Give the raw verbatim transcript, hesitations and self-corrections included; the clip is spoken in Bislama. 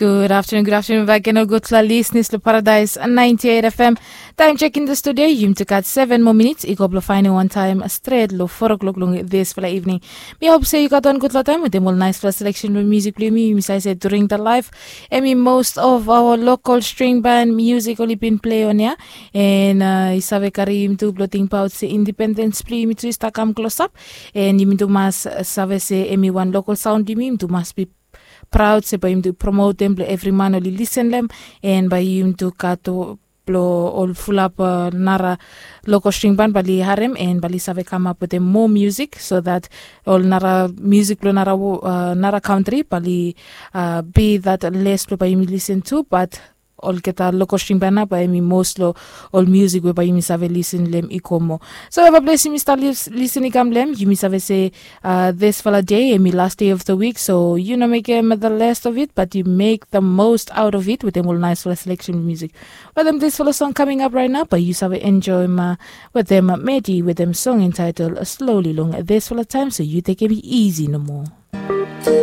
Gud aftanun, gud aftanun bak gen ol gudfala lisnis long Paradais ninety eight F M. Taem jek in the studio yumi tu gat seven moa minits i go blong faenem wan taem stret long four o'clock long disfala evening. Mi hop se yu gat wan gudfala taem wetem ol naisfala selection blong musik blong yumi. Yumi save se during the live, em i most of our local string band music oli bin play on ya. En i save karim tu blong tingbaot se independens blong yumi tu i stap kam klosap. En yumi tu mas save se em i wan local saon blong yumi, yumi tu mas bi praod se bae yumi tu promotem blong evri man oli lisen long em. En bae yumi tu gat blong ol fulap nara local string band bae oli harem en bae oli save kamap wetem moa musik so that ol nara musik blong nara kantri bae oli bi that les blong bae yumi lisen tu, bat olgeta local string band nao bae em i mos long ol musik we bae yumi save lisen long em i go moa. So eva ples yumi stap lisen i kam long em, yumi save se disfala dei em i last day of the week, so yu no mekem the last of it, but yu make the most out of it wetem ol naisfala selection musik. Wetem disfala song kaming ap raet nao bae yu save enjoem wetem Medi wetem song entitled Slowly long disfala taem, so yu tekem i isi nomo.